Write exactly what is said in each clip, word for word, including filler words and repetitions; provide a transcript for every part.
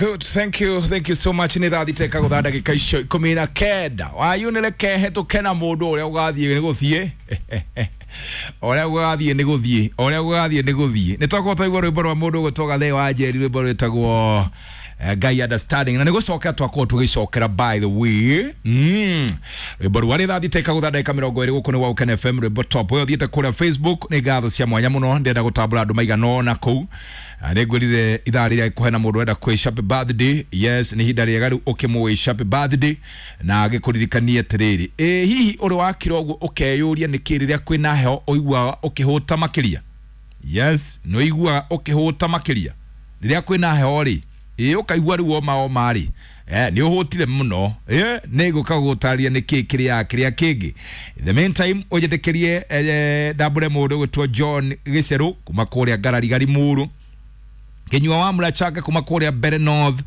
Good, thank you, thank you so much. Nĩ thaa thita ikagũtha ndagĩka icio ikũmi na kenda. Wayunĩre hetũke na mũndũ ũrĩa ũgathiĩ nĩ gũthiĩ, ũrĩa ũgathiĩ nĩ gũthiĩ, ũrĩa ũgathiĩ nĩ gũthiĩ. Nĩ twakorwo twaigua rwĩmbo rwa mũndũ ũgwĩtwo Gathee wa Njeri, rwĩmbo rwĩtagwo eh, Ngai Understanding, na nĩ gũcokera twakorwo tũgĩcokera, by the way, mm. rwĩmbo rwa rĩ thaa thita ikagũtha ndagĩka mĩrongo ĩrĩ. Gũkũ nĩ Waũkene F M, rwĩmbo top. Ũyũ ũthiĩte kũrĩa Facebook, nĩ ngatho cia mwanya mũno. Ndĩrenda gũtambũra andũ maigana ũna kũu. Ah, nĩ ngwĩrire ithaa rĩrĩa kũhena mũndũ ũrenda kwĩsh happy birthday. Yes, nĩ ihinda rĩega rĩu ũkĩmũwish happy birthday na agĩkũririkanie atĩrĩrĩ, ĩ hihi ũrĩ wakira ũguo ũkeyũria nĩkĩ rĩrĩa kwĩna heho ũiguaga ũkĩhũta makĩria? Yes, nĩ ũiguaga ũkĩhũta makĩria rĩrĩa kwĩna heho rĩ, ĩ ũkaigua rĩu oma oma rĩ, eh, nĩ ũhũtire mũno. Ĩ nĩ ngũka gũtarĩria nĩkĩ kĩrĩa kĩrĩa kĩngĩ. In the meantime, ũnjĩtĩkĩrie eh, ndambũre mũndũ ũgwĩtwo John Gĩcerũ kuma kũrĩa Ngararigari Muru, Kinyua wa Murachaka kuma kũrĩa Mbere North,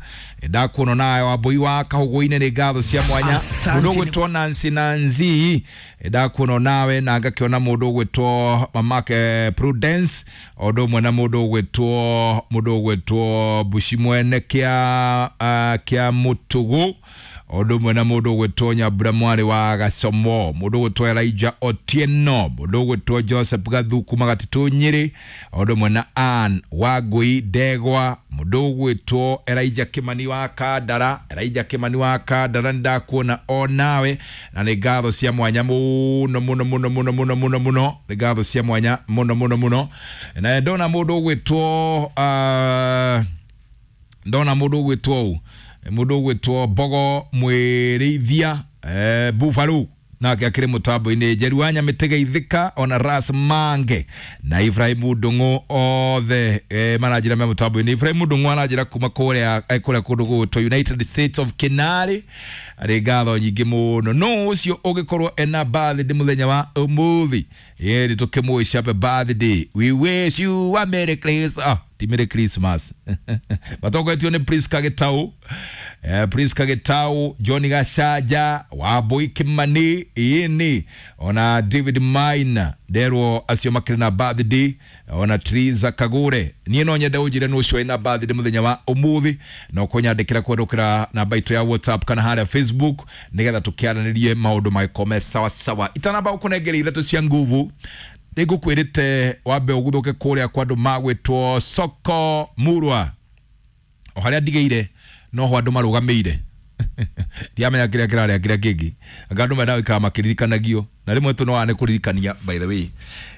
ndakuona nawe Wambui wa Kahũgũ-inĩ, nĩ ngatho cia mwanya. Asante. Mũndũ ũgwĩtwo Nancy Nanzi, ndakuona nawe, na ngakĩona mũndũ ũgwĩtwo mamake Prudence, o ũndũ ũmwe na mũndũ ũgwĩtwo mũndũ ũgwĩtwo Bushi mwene kĩa uh, kĩa Mũtũgũ, o ũndũ ũmwe na mũndũ ũgwĩtwo Nyambura mwarĩ wa Gacomo, mũndũ ũgwĩtwo Elijah Otieno, mũndũ ũgwĩtwo Joseph Gathu kuma Gatitũ Nyĩrĩ, o ũndũ ũmwe na Ann Wangũi Ndegwa, mũndũ ũgwĩtwo Elijah Kimani wa Kandara, Elijah Kimani wa Kandara, nĩ ndakuona o nawe, na nĩ ngatho cia mwanya mũno mũno mũno mũno mũno mũno mũno, nĩ ngatho cia mwanya mũno mũno mũno. Na ndona mũndũ ũgwĩtwo uh, ndona mũndũ ũgwĩtwo ũ mũndũ ũgwĩtwo Mbogo Mwĩrĩithia, eh, Bufaru, nake akĩrĩ mũtambo-inĩ, Njeru wa Nyamĩtĩ Ithika, ona Ras Mange na Ibrahim Ndung'u, othe eh, maranjĩra me mũtambo-inĩ. Ibrahim Ndung'u aranjĩra kuma kũrĩa eh, kũrĩa kũndũ gũgwĩtwo United States of Kinari, arĩ ngatho nyingĩ mũno. No ũcio ũgĩkorwo ena birthday mũthenya wa ũmũthĩ, ĩĩ tũkĩmũwish happy birthday, we wish you a merry Christmas. Ah, ti merry Christmas. Matongoretio nĩ Priska Gĩtau, eh, Priska Gĩtau, John Gacaja, Wambui Kimani, ĩni ona David Maina, nderwo acio makĩrĩ na birthday, ona Triza Kagure. Niĩ no nyende ũnjĩre nũ ũcio wĩna birthday mũthenya wa ũmũthĩ, no kũnyandĩkĩra kũhetũkĩra namba itũ ya WhatsApp kana harĩa Facebook, nĩgetha tũkĩaranĩrie maũndũ magĩkome sawa sawa. Itanamba gũkũnengera ithatũ cia nguvu, nĩngũkwĩrĩte wambe ũguthũke kũrĩa kwa andũ magwĩtwo Soko Murwa, o harĩa ndigĩire noho andũ marũgamĩire. Ndiamenya kĩrĩa kĩrarĩa kĩrĩa kĩngĩ, anga andũ mendaga gũikara makĩririkanagio, na rĩmwe tũ no nĩ kũririkania, by the way.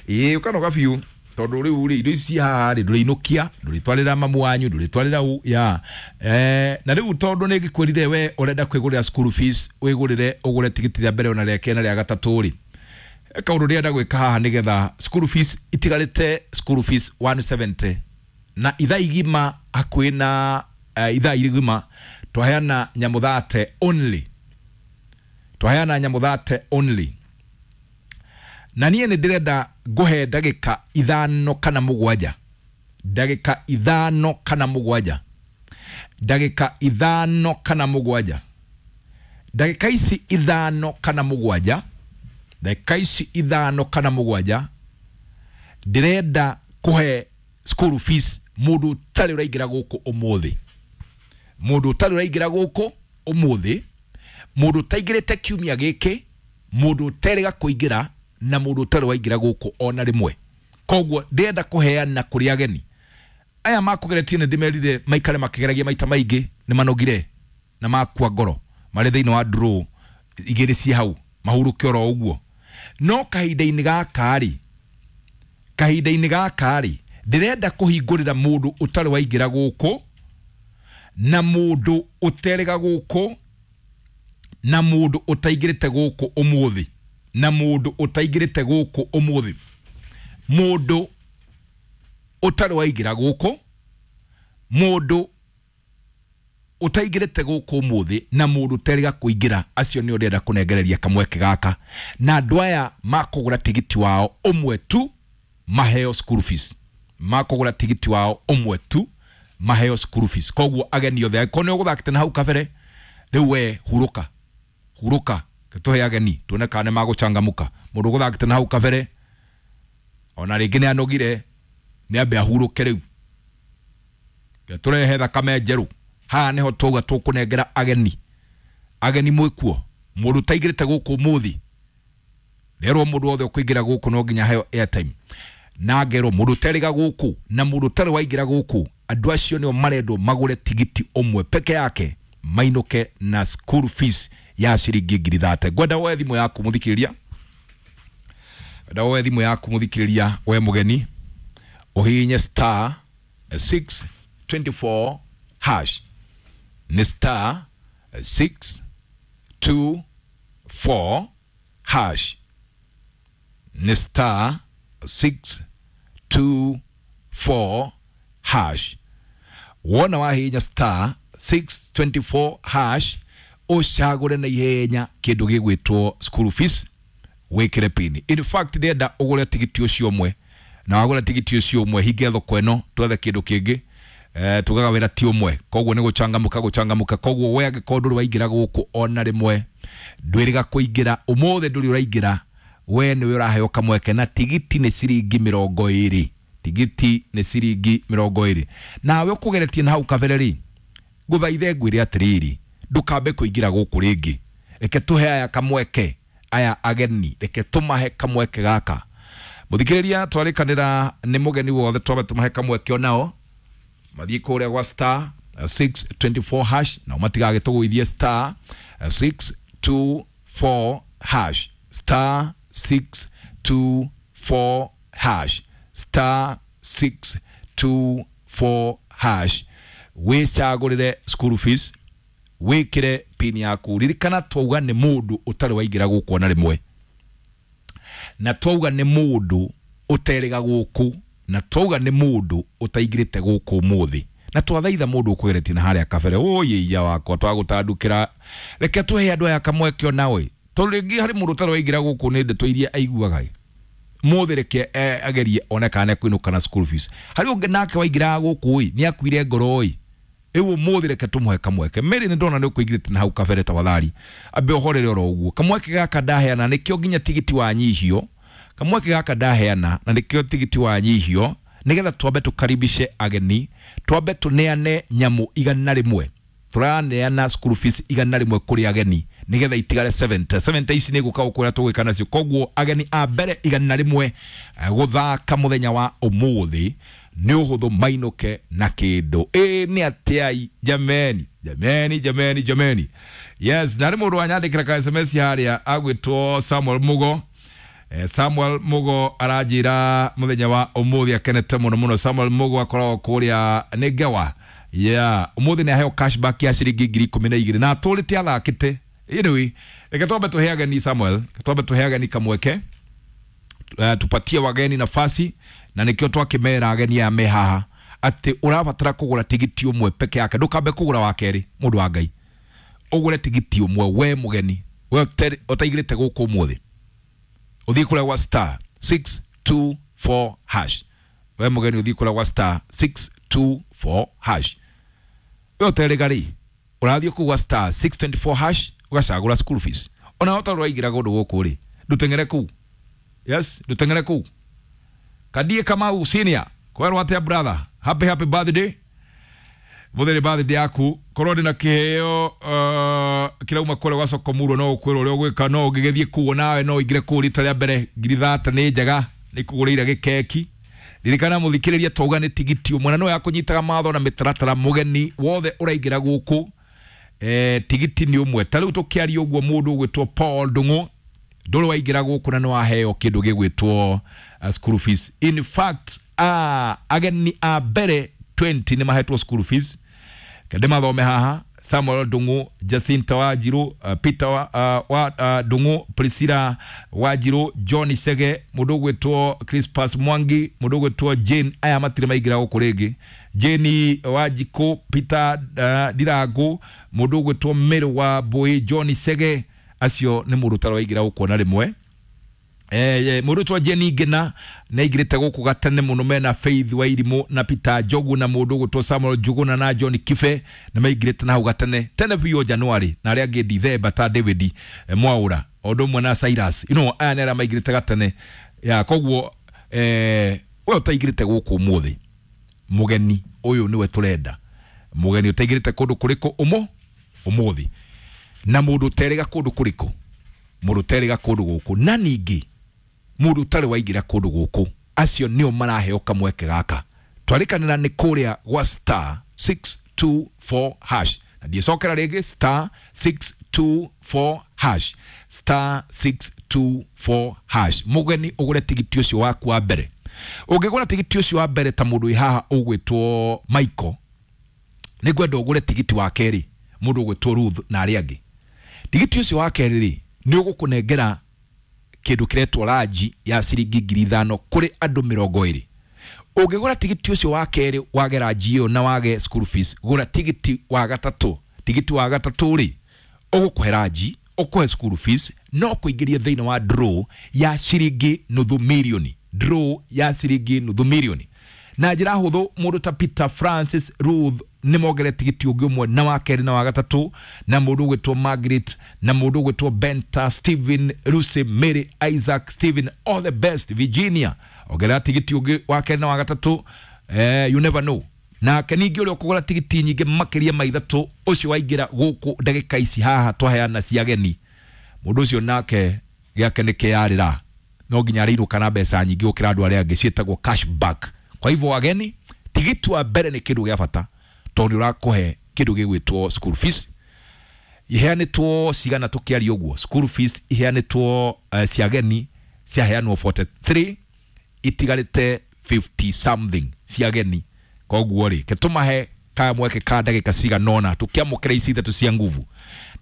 Ĩĩ, ũkanoga biũ tondũ rĩu rĩ, indo ici ci haha rĩ, ndũrĩinũkia, ndũrĩtwarĩra mamu wanyu, ndũrĩtwarĩra u ya eh, na rĩu tondũ nĩ ngĩkwĩrire we ũrenda kwĩgũrĩra school fees, wĩgũrĩre, ũgũre tigiti rĩa mbere ona rĩa kerĩ na rĩa gatatũ rĩ, kaũndũ ndĩrenda gwĩka haha nĩgetha school fees itigarĩte, school fees one seventy na ithaa igima hakuhĩ na uh, ithaa igima twaheana nyamũ thate only, twaheana nyamũ thate only, na niĩ nĩ ndĩrenda ngũhe ndagĩka ithano kana mũgwanja, ndagĩka ithano kana mũgwanja, ndagĩka ithano kana mũgwanja, ndagĩka ici ithano kana mũgwanja, ndagĩka ici ithano kana mũgwanja, ndĩrenda kũhe school fees mũndũ ũtarĩ ũraingĩra gũkũ ũmũthĩ, mũndũ ũtarĩ ũraingĩra gũkũ ũmũthĩ, mũndũ ũtaingĩrĩte kiumia gĩkĩ, mũndũ ũterĩga kũingĩra, na mũndũ ũtarĩ waingĩra gũkũ ona rĩmwe. Koguo ndĩrenda kũheana kũrĩ ageni aya makũgeretie, nĩ ndĩmerire maikare makĩgeragia maita maingĩ, nĩ manogire na makua ngoro, marĩ thĩinĩ wa draw igĩrĩ ci hau mahurũke oro ũguo. No kahinda-inĩ gaka rĩ, kahinda-inĩ gaka rĩ, ndĩrenda kũhingũrĩra mũndũ ũtarĩ waingĩra gũkũ, na mũndũ ũterĩga gũkũ, na mũndũ ũtaingĩrĩte gũkũ ũmũthĩ, na mũndũ ũtaingĩrĩte gũkũ ũmũthĩ, mũndũ ũtarĩ waingĩra gũkũ, mũndũ ũtaingĩrĩte gũkũ ũmũthĩ, na mũndũ ũterĩga kũingĩra. Acio nĩo ndĩrenda kũnengereria kamweke gaka, na andũ aya makũgũra tigiti wao ũmwe tu maheo school fees, makũgũra tigiti wao ũmwe tu maheo school fees. Koguo ageni othe, angĩkorwo nĩ ũgũthakĩte na hau kabere, rĩu we hurũka, hurũka, tũhe ageni tuone kana nĩ magũcangamũka. Mũndũ ũgũthakĩte na hau kabere ona rĩngĩ nĩ anogire, nĩ ambe ahurũke rĩu, tũrehe thakame njerũ. Haha niho twauga tũkũnengera ageni. Ageni mwĩkuo mũndũ ũtaingĩrĩte gũkũ ũmũthĩ rerwo mũndũ wothe ũkũingĩra gũkũ no nginya heo airtime na ngerwo mũndũ ũterĩga gũkũ na mũndũ ũtarĩ waingĩra gũkũ andũ acio nĩo marendwo magũre tigiti ũmwe peke yake mainũke na school fees ya ciringi ngiri thate. Ngwenda woe thimũ yaku mũthikĩrĩria, ngwenda woe thimũ yaku mũthikĩrĩria we mũgeni ũhihinye star six twenty four hash nĩ star six two four hash nĩ star six two four hash. Wona wahihinya star six twenty four hash ũcagũre na ihenya kĩndũ gĩgwĩtwo school fees wĩkĩre pini. In fact ndĩrenda ũgũre tigiti ũcio ũmwe na wagũra tigiti ũcio ũmwe hinge thoko ĩno twethe kĩndũ kĩngĩ eh, tugaga wĩra ti ũmwe koguo nĩ gũcangamũka gũcangamũka koguo we angĩkorwo ndũrĩ waingĩra gũkũ ona rĩmwe ndwĩrĩga kũingĩra ũmũthĩ ndũrĩ ũraingĩra we nĩwe ũraheo kamweke na tigiti nĩ ciringi mĩrongo ĩrĩ tigiti nĩ ciringi mĩrongo ĩrĩ nawe ũkũgeretie na hau kabere rĩ ngũthaithe ngwĩre atĩrĩrĩ ndũkambe kũingĩra gũkũ rĩngĩ reke tũhe aya kamweke aya ageni reke tũmahe kamweke gaka mũthikĩrĩria twarĩkanĩra nĩ mũgeni wothe twambe tũmahe kamweke onao mathiĩ kũrĩa gwa star six twenty four hash nao matigagĩtũgũithie star six two four hash star six two four hash star six two four hash wĩcagũrĩre school fees wĩkĩre pin yaku ririkana twauga nĩ mũndũ ũtarĩ waingĩra gũkũ ona rĩmwe na twauga nĩ mũndũ ũterĩga gũkũ na twauga nĩ mũndũ ũtaingĩrĩte gũkũ ũmũthĩ na twathaitha mũndũ ũkũgeretie na harĩa kabere ũyĩia wakwa twagũtandukĩra reke tũhe andũ aya kamweke onawe tondũ rĩngĩ harĩ mũndũ ũtarĩ waingĩra gũkũ nĩ ndeto iria aiguaga mũthĩ reke agerie one kana nĩekũinũka na school fees harĩ ũngĩ nake waingĩraga gũkũ ĩ nĩ akuire ngoro ĩ rĩu ũmũthĩ reke tũmũhe kamweke Mary nĩ ndona nĩ ũkũingĩrĩte na hau kabere tafadhali ambe ũhorere oro ũguo kamweke gaka ndaheana nĩkĩo nginya tigiti wanyihio kamweke gaka ndaheana na nĩkĩo tigiti wanyihio nĩgetha twambe tũkaribishe ageni twambe tũneane nyamũ igana rĩmwe tũraneana school fees igana rĩmwe kũrĩ ageni nĩgetha itigare seventy seventy ici nĩ gũka gũkwĩra tũgwĩka nacio koguo ageni a mbere igana rĩmwe gũthaka mũthenya wa ũmũthĩ nĩ ũhũthũ mainũke na kĩndũ ĩ nĩ atĩai jameni jameni jameni jameni yes na nĩ mũndũ wanyandĩkĩra ka S M S harĩa agwĩtwo Samuel Mugo eh, Samuel Mugo aranjĩra mũthenya wa ũmũthĩ akenete mũno mũno Samuel Mugo akoragwo kũrĩa nĩ Ngewa yeah ũmũthĩ nĩ aheo cashback ya ciringi ngiri ikũmi na igĩrĩ na atũrĩte athakĩte anyway reke twambe tũhe ageni Samuel reke twambe tũhe ageni kamweke uh, tupatie wageni nafasi na nikio twakimera ageni aya me haha atĩ ũrabatara kũgũra tigiti ũmwe peke yake ndũkambe kũgũra wa kerĩ mũndũ wa Ngai ũgũre tigiti ũmwe we mũgeni we ũtaingĩrĩte gũkũ ũmũthĩ ũthiĩ kũrĩa gwa star six two four hash we mũgeni ũthiĩ kũrĩa gwa star six two four hash we ũterĩga rĩ ũrathiĩ kũu gwa star six twenty four hash ũgacagũra school fees ona ũtarĩ ũraingĩra kũndũ gũkũ rĩ ndũteng'ere kũu yes ndũteng'ere kũu Kadie Kamau senior kwerwo atia brother happy happy birthday mutheri birthday yaku korwo ndina kiheo uh, kirauma kũrĩa gwa Sokomurwo no ũkwĩrwo ũrĩa ũgwĩka no ũngĩgĩthiĩ kũu nawe no ũingĩre kũu rita rĩa mbere ngiri thate nĩ njega nĩ kũgũrĩire gĩkeki ririkana mũthikĩrĩria twauga nĩ tigiti ũmwe na no yakũnyitaga matho na mĩtaratara mũgeni wothe ũraingĩra gũkũ eh, tigiti nĩ ũmwe ta rĩu tũkĩaria ũguo mũndũ ũgwĩtwo Paul Ndung'u ndũrĩ waingĩra gũkũ na nĩ waheo kĩndũ gĩgwĩtwo uh, school fees in fact uh, ageni a mbere twenty nĩ mahetwo school fees kende mathome haha Samuel Ndung'u Jacinta Wanjiru uh, Peter wa, uh, wa, uh, Ndung'u Priscilla Wanjiru John Sege mũndũ ũgwĩtwo Crispus Mwangi mũndũ ũgwĩtwo Jane aya matirĩ maingĩra gũkũ rĩngĩ Jane Wanjikũ Peter uh, Ndirangu mũndũ ũgwĩtwo Mary wa Mbui John Sege acio nĩ mũndũ ũtarĩ waingĩra gũkũ ona rĩmwe eh mũndũ ũtwa Jane Ngina nĩ aingĩrĩte gũkũ gatene mũno mena Faith Wairimu na Peter Njogu na mũndũ ũgwĩtwo Samuel Njuguna na John Kibe na maingĩrĩte na hau gatene tene biũ January na arĩa angĩ Dithemba ta David eh, Mwaura o ũndũ ũmwe na Cyrus you know aya nĩ arĩa maingĩrĩte gatene ya koguo eh we ũtaingĩrĩte gũkũ ũmũthĩ mũgeni ũyũ nĩwe tũrenda Mũgeni ũtaingĩrĩte kũndũ kũrĩkũ ũmũ ũmũthĩ, na mũndũ ũterĩga kũndũ kũrĩkũ, mũndũ ũterĩga kũndũ gũkũ, na ningĩ mũndũ ũtarĩ waingĩra kũndũ gũkũ, acio nĩo maraheo kamweke gaka. Twarĩkanĩra nĩ kũrĩa gwa star six two four hash, na ndiĩcokera rĩngĩ, star six two four hash, star six two four hash. Mũgeni ũgũre tigiti ũcio waku wa mbere. Ũngĩgũra tigiti ũcio wa mbere ta mũndũ wĩ haha ũgwĩtwo Michael, nĩngwenda ũgũre tigiti wa kerĩ mũndũ ũgwĩtwo Ruth na arĩa angĩ. Tigiti ũcio wa kerĩ rĩ, nĩ ũgũkũnengera kĩndũ kĩretwo ranji ya ciringi ngiri ithano kũrĩ andũ mĩrongo ĩrĩ. Ũngĩgũra tigiti ũcio wa kerĩ wage ranji ĩyo na wage school fees, gũra tigiti wa gatatũ. Tigiti wa gatatũ rĩ, ũgũkũhe ranji, ũkũhe school fees, no kũingĩrie thĩinĩ wa draw ya ciringi nuthu mirioni, draw ya ciringi nuthu mirioni. Na njĩra hũthũ, mũndũ ta Peter, Francis, Ruth nĩ mongere tigiti ũngĩ ũmwe na wa kerĩ na wa gatatũ, na mũndũ ũgwĩtwo Margaret, na mũndũ ũgwĩtwo Benta, Stephen, Lucy, Mary, Isaac, Stephen, all the best, Virginia, ongerera tigiti ũngĩ wa kerĩ na wa gatatũ. Eh, you never know. Nake ningĩ ũrĩa ũkũgũra tigiti nyingĩ makĩria ma ithatũ, ũcio waingĩra gũkũ ndagĩka ici haha twaheana cia ageni, mũndũ ũcio nake gĩake nĩ kĩarĩra, no nginya arĩinũka na mbeca nyingĩ gũkĩra andũ arĩa angĩ, ciĩtagwo cashback. Kwa hivyo ageni, tigiti wa mbere nĩ kĩndũ gĩa bata tondũ nĩ ũrakũhe kĩndũ gĩgwĩtwo school fees. Iheanĩtwo cigana tũkĩaria ũguo? School fees iheanĩtwo uh, cia ageni ciaheanwo forty-three, itigarĩte fifty something cia ageni. Koguo rĩ, ketũmahe kamweke ka ndagĩka cigana ũna tũkĩamũkĩra ici ithatũ cia nguvu,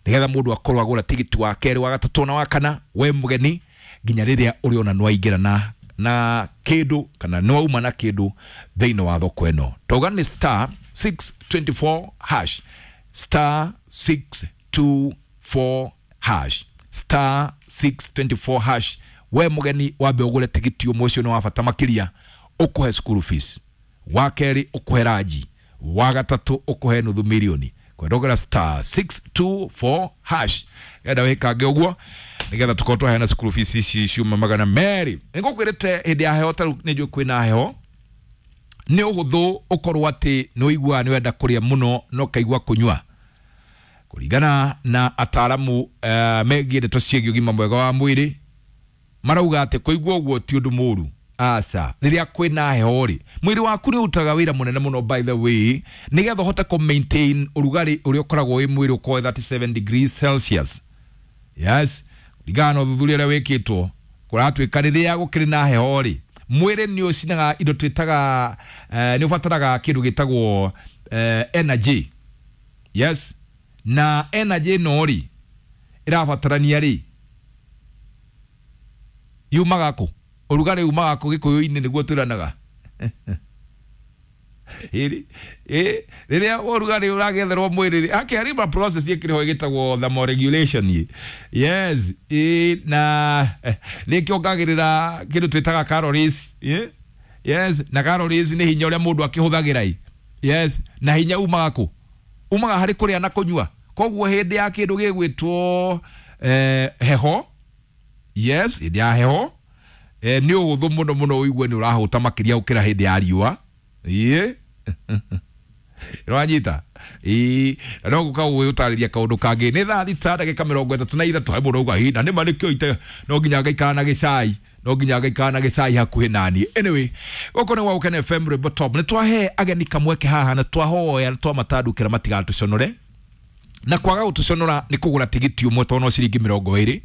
nĩgetha mũndũ akorwo agũra tigiti wa kerĩ, wa gatatũ na wa kana, we mũgeni, nginya rĩrĩa ũrĩona nĩwaingĩra na na kĩndũ kana nĩwauma na kĩndũ thĩinĩ wa thoko ĩno. Tauga nĩ star six twenty-four hash, star six two four hash, star six twenty-four hash. We mũgeni wambe ũgũre tigiti ũmwe, ũcio nĩ wa bata makĩria, ũkũhe school fees, wa kerĩ ũkũhe ranji, wa gatatũ ũkũhe nuthu mirioni. Kwendogera star six two four hash, enda wĩkange ũguo nĩgetha tũkorwo twaheana school fees ici ciuma magana merĩ. Nĩngũkwĩrĩte hĩndĩ ya heho, ta rĩu nĩnjũĩ kwĩna heho, nĩ ũhũthũ ũkorwo atĩ nĩ ũiguaga nĩ wenda kũrĩa mũno na ũkaigua kũnyua. Kũringana na ataaramu uh, megiĩ ndeto ciĩgiĩ ũgima mwega wa mwĩrĩ, marauga atĩ kũigua ũguo ti ũndũ mũũru. Aca, rĩrĩa kwĩna heho rĩ, mwĩrĩ waku nĩ ũrutaga wĩra mũnene mũno, by the way, nĩgetha ũhote kũ maintain ũrugarĩ ũrĩa ũkoragwo wĩ mwĩrĩ ũkorwo thirty-seven degrees Celsius. Yes, kũringana na ũthuthuria ũrĩa wĩkĩtwo, kũratuĩka rĩrĩa gũkĩrĩ na heho rĩ, mwĩrĩ nĩ ũcinaga indo twĩtaga, eh, nĩ ũbataraga kĩndũ gĩtagwo eh, energy. Yes, na energy ĩno rĩ, ĩrabatarania rĩ, yumaga kũ? Ũrugarĩ umaga kũ gĩkũyũ-inĩ nĩguo twĩranaga? Ĩrĩ, ĩ, rĩrĩa ũrugarĩ ũragetherwo mwĩrĩ rĩ, ake harĩ ma process ĩkĩrĩ ĩgĩtagwo thermoregulation. Yes, ĩ, na nĩkĩongagĩrĩra kĩndũ twĩtaga calories. Ĩ? Yes, na calories nĩ hinya ũrĩa mũndũ akĩhũthagĩra ĩ. Yes, na hinya umaga kũ? Umaga harĩ kũrĩa na kũnyua. Koguo hĩndĩ ya kĩndũ gĩgwĩtwo eh, heho, yes, hĩndĩ ya heho, eh, nĩ ũhũthũ mũno mũno ũigue nĩ ũrahũta makĩria gũkĩra hĩndĩ ya riũa. Ĩĩ, nĩwanyita? Ĩĩ, na no gũka gũgĩũtarĩria kaũndũ kangĩ. Nĩ thaa thita ndagĩka mĩrongo ĩtatũ na ithatũ. He mũndũ auga, "Hĩ, na nĩma nĩkĩo ite no nginya ngaikara na gĩcai, no nginya ngaikara na gĩcai hakuhĩ naniĩ." Anyway, gũkũ nĩ gwa Gũkena F M Rwĩmbo Top. Nĩ twahe ageni kamweke haha na twahoya na twamatandũkĩra matigatũconore. Na kwaga gũtũconora nĩ kũgũra tigiti ũmwe tondũ no ciringi mĩrongo ĩrĩ.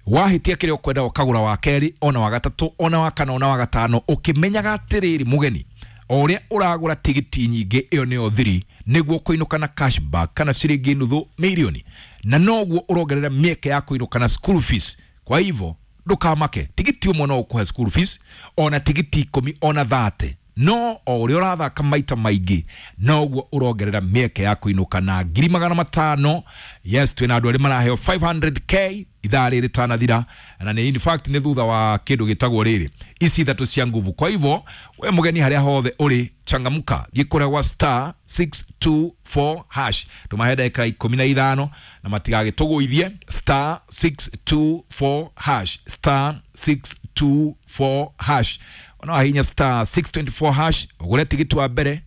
Wahĩtia kĩrĩa ũkwenda ũkagũra wa kerĩ, ona wa gatatũ, ona wa kana, ona wa gatano, ũkĩmenyaga atĩrĩrĩ mũgeni, o ũrĩa ũragũra tigiti nyingĩ ĩyo nĩyo thiri, nĩguo kũinũka na cashback kana ciringi nuthu mirioni, na noguo ũrongerera mĩeke ya kũinũka na school fees. Kwa hivyo ndũkamake, tigiti ũmwe no ũkũhe school fees, ona tigiti ikũmi, ona thate, no o ũrĩa ũrathaka maita maingĩ noguo ũrongerera mĩeke ya kũinũka na ngiri magana matano. Yes, twĩna andũ arĩa maraheo five hundred K ithaa rĩrĩ tanathira, na nĩ in fact nĩ thutha wa kĩndũ gĩtagwo rĩrĩ ici ithatũ cia nguvu. Kwa hivyo we mũgeni harĩa hothe ũrĩ, changamka, thiĩ kũrĩa gwa star six two four hash, tũmahe ndagĩka ikũmi na ithano na matigagĩtũgũithie. Star six two four hash, star six two four hash. Ona wahinya star six twenty-four hash ũgũre tigiti wa mbere,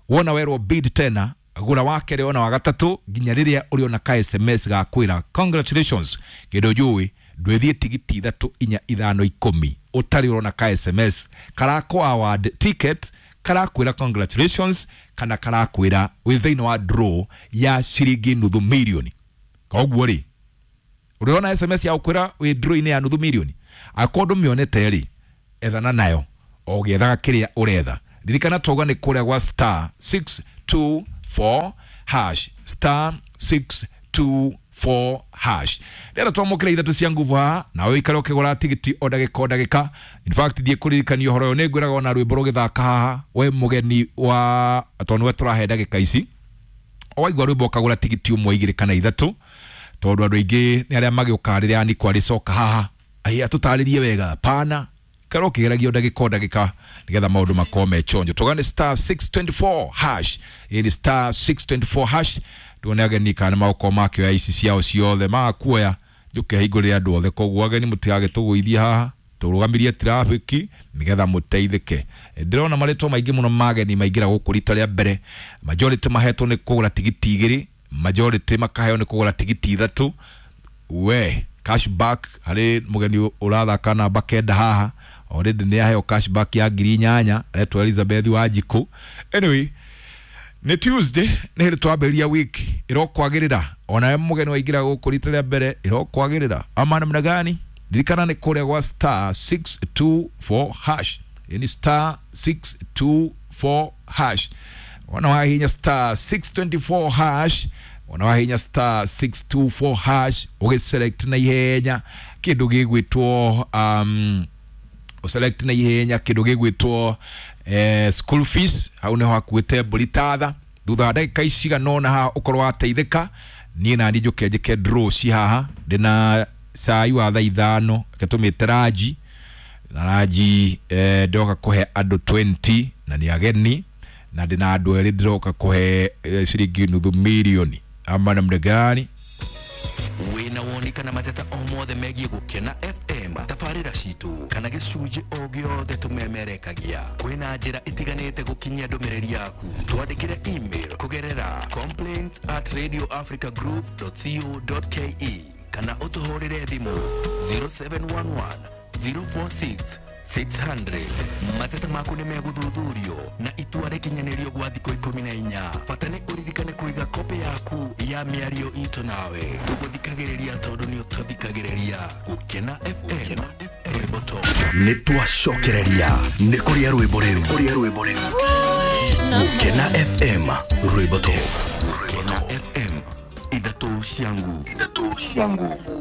wona werwo bid tena Gura wa kerĩ ona wa gatatũ nginya rĩrĩa ũrĩona ka S M S gakwĩra congratulations. Kĩndũ njũĩ ndwĩthiĩ tigiti ithatũ inya ithano ikũmi ũtarĩ ũrona ka S M S karakũ award ticket karakwĩra congratulations kana karakwĩra wĩ thĩinĩ wa draw ya ciringi nuthu milioni. Koguo rĩ ũrĩona S M S ya gũkwĩra wĩ draw-inĩ ya nuthu milioni akorwo ndũmĩonete rĩ ethana nayo o ũgĩethaga kĩrĩa ũretha. Ririkana twauga nĩ kũrĩa gwa star six two four hash star six two four hash. Rĩrĩa twamũkĩra ithatũ cia nguvu haha nawe ũikare ũkĩgũra tigiti o ndagĩka o ndagĩka. In fact thiĩ kũririkania ũhoro ũyũ nĩ ngwĩraga ona rwĩmbo rũgĩthaka haha we mũgeni wa tondũ nĩwe tũrahe ndagĩka ici waigua rwĩmbo ũkagũra tigiti ũmwe igĩrĩ kana ithatũ tondũ andũ aingĩ nĩ arĩa magĩũkaga rĩrĩa Aniko arĩcoka haha ai atũtarĩrie wega pana karo kĩgeragia ndagĩka o ndagĩka nĩgetha maũndũ makorwo me chonjo. Tũgane star six twenty four hash ĩni star six twenty four hash tuone ageni kana magũkorwo makĩoya ici ciao ciothe magakuoya njũke hingũrĩre andũ othe. Koguo ageni mũtigagĩtũgũithie haha tũrũgamirie traffic nĩgetha mũteithĩke. Ndĩrona marĩtwa maingĩ mũno ma ageni maingĩra gũkũ rita rĩa mbere majority mahetwo nĩ kũgũra tigiti igĩrĩ majority makaheo nĩ kũgũra tigiti ithatũ. We cashback harĩ mũgeni ũrathaka namba kenda haha already nĩ aheo cashback ya ngiri inyanya aretwo Elizabeth Wanjikũ. Anyway nĩ Tuesday nĩ hĩndĩ twambĩrĩria wiki ĩrokwagĩrĩra onawe mũgeni waingĩra gũkũ rita rĩa mbere ĩrokwagĩrĩra ama namna gani. Ririkana nĩ kũrĩa gwa star six two four hash yani star six two four hash wana wahinya star six twenty four hash wana wahinya star six two four hash ũgĩselect na ihenya kĩndũ gĩgwĩtwo um ũselect na ihenya kĩndũ gĩgwĩtwo eh, school fees hau nĩho hakuĩte mbũri tatha. Thutha wa ndagĩka icigana ũna haha ũkorwo wateithĩka niĩ nani njũke njĩke draw ci haha ndĩna cai wa thaa ithano reke tũmĩte ranji na ranji eh, ndĩroka kũhe andũ twenty na nĩ ageni na ndĩna andũ erĩ ndĩroka kũhe eh, ciringi nuthu milioni ama namna gani. Wĩna woni kana mateta o mothe megiĩ Gũkena F M tabarĩra citũ kana gĩcunjĩ o gĩothe tũmemerekagia kwĩna njĩra itiganĩte gũkinyia ndũmĩrĩri yaku. Twandĩkĩre email kũgerera complaint at radio africa group dot co dot ke kana ũtũhũrĩre thimũ zero seven one one zero four six six hundred. Mateta maku nĩ megũthuthurio na itua rĩkinyanĩrio gwa thikũ ikũmi na inya. Bata nĩ ũririkane kũiga kopĩ yaku ya mĩario itũ nawe. Tũgũthikagĩrĩria tondũ nĩ ũtũthikagĩrĩria. Gũkena F M rwĩmbo top. Nĩ twacokereria nĩ kũrĩa rwĩmbo rĩu kũrĩa rwĩmbo rĩu Gũkena F M rwĩmbo top. Gũkena F M ithatũ cia nguvu ithatũ cia nguvu.